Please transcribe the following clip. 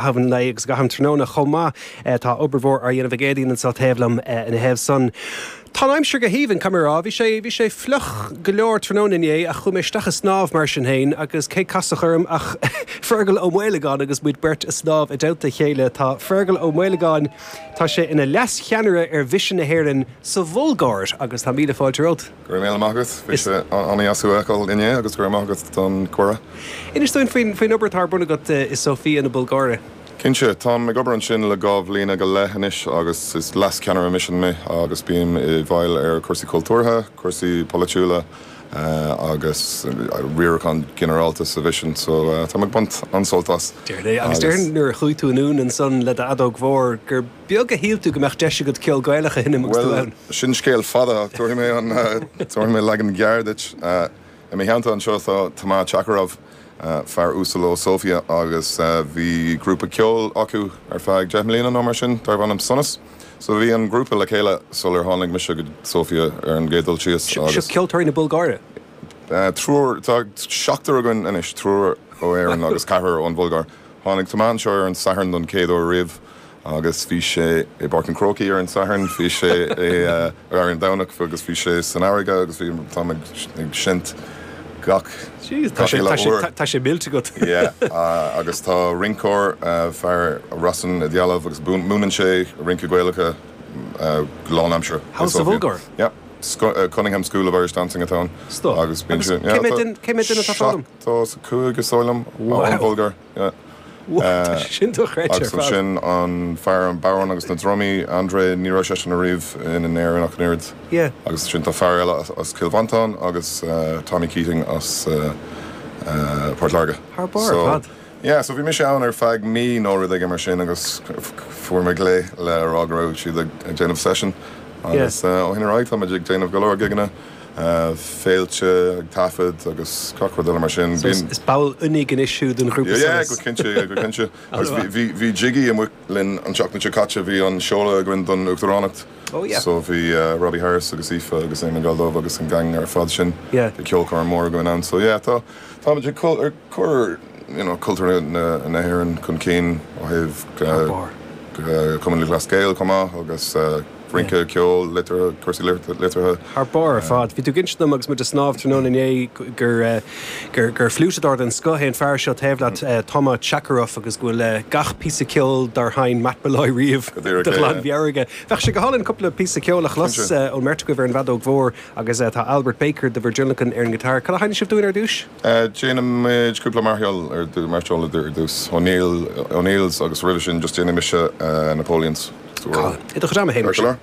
An lae agus i gcaitheamh an tráthnóna chomh maith. Tá obair mhór á dhéanamh ag Éadaoin anseo taobh liom ina thaobh san. Tá an aimsir go haoibhinn, caithfidh mé a rá. Bhí sé, bhí sé fliuch go leor tráthnóna inné ach chuaigh mé isteach ag snámh mar sin féin agus cé casadh orm ach Fergal Ó Maolagáin agus muid beirt ag snámh i dteannta a chéile. Tá Fergal Ó Maolagáin, tá sé ina leas-cheannaire ar Mhisean na hÉireann sa Bhulgáir agus tá míle fáilte romhat. Go raibh míle maith agat. Bhí sé an-dheas thú a fheiceáil inné agus go raibh maith agat don cuireadh. Inis dúinn faoin faoin obair atá ar bun agat i Sofia na Bulgáire. Cinnte, táim ag obair ansin le 2 bhliana go leith anois agus is leas-cheannaire misin mé agus bím i bhfeighil ar chúrsaí cultúrtha, cúrsaí polaitiúla agus riarachán ginearálta sa mhisean so táim ag baint an-sult as. Déarfainn é. Agus déarfainn nuair a chuaigh tú anonn ansan le d'fheadóg mhór gur beag a shíl tú go mbeadh deis agat ceol Gaelach a sheinm agus tú Bhuel, ann. sin scéal fada ach tabharfaidh mé an, tabharfaidh mé leagan gearr duit. I mo theannta anseo tá Tomás Chakarov, fear uasal ó Sofia agus bhí grúpa ceoil acu ar feadh 10 mbliana nó mar sin darbh ainm Sonas. So bhí an grúpa le chéile sular tháinig mise go Sofia ar an gcéad dul síos Seo agus. ceoltóirí na Bulgáire? Triúr, tá seachtar againn anois, triúr ó Éirinn agus ceathrar ón Bhulgáir. Tháinig Tomás anseo ar an Satharn don chéad uair riamh. Agus bhí sé i bPáirc an Chrócaigh ar an Satharn, bhí sé i, ar an Domhnach agus bhí sé san fharraige agus bhí, táim ag, ag seinnt gach, Jeez, tá gach sé, uile tá sé, uair. tá sé millte agat. Yeah, agus tá rinceoir, fear Rossen Idealov agus múineann sé rince Gaelacha go lánaimseartha i Thall sa Sofia. Bhulgáir? Yeah, Cunningham School of Irish Dancing atá ann. Stop. Agus bíonn Agus sé, cé yeah, mhéad tá duine, cé mhéad duine atá ag foghlaim? 75 is dóigh liom, Wow. ón Bhulgáir, yeah. Tá sé sin dochreidte ar Agus fad. ansin an fear an bodhrán agus na drumaí, André, ní raibh seisean ariamh in Éirinn ach an oiread. Yeah. Agus ansin tá fear eile as Cill Mhantáin agus Tommy Keating as Port Láirge. Thar barr ar fad. So, yeah, so bhí mise ann ar feadh mí nó rud éigin mar sin agus fuair mé glao le rá go raibh siad ag déanamh session agus ó shin ar aghaidh táimid ag déanamh go leor gigeanna. féilte, ag taifead agus gach rud eile mar sin. So is ball oinigh anois thú den ghrúpa Sonas. Yeah, go cinnte, yeah, go cinnte. Agus bhí, bhí Jiggy amuigh linn an tseachtain seo caite, bhí an seoladh againn don Uachtaránacht. Oh yeah. So bhí Robbie Harris agus Aoife agus Éamon Geldof agus an gang ar fad sin. Yeah. Bhí ceolchoirm mór againn ann. So yeah, tá, táimid ag cur, you know, cultúr na, na hÉireann chun cinn ó thaobh Thar barr. Cumann Lúthchleas Gael chomh maith agus rince, ceol, liteartha, cúrsaí liteartha. Thar barr ar fad. Bhí tú ag inse dom agus muid ag snámh tráthnóna inné gur gur fliúiteadóir den scoth é an fear seo taobh leat, Toma Chakarov, agus go bhfuil gach píosa ceoil dár sheinn Matt Molloy riamh de ghlanmheabhair aige. Bheadh sé go hálainn cúpla píosa ceoil a chlos ón mbeirt agaibh ar an bhfeadóg mhór agus tá Albert Baker do bhur dtionlacan ar an ngiotár. Cad a sheinnfidh sibh dúinn ar dtús? Déanfaimid cúpla mairseáil ar mairseáil ar dtús. O'Neill, O'Neill's agus roimhe sin just déanfaidh mise Napoleons. I do chuid ama féin mar sin.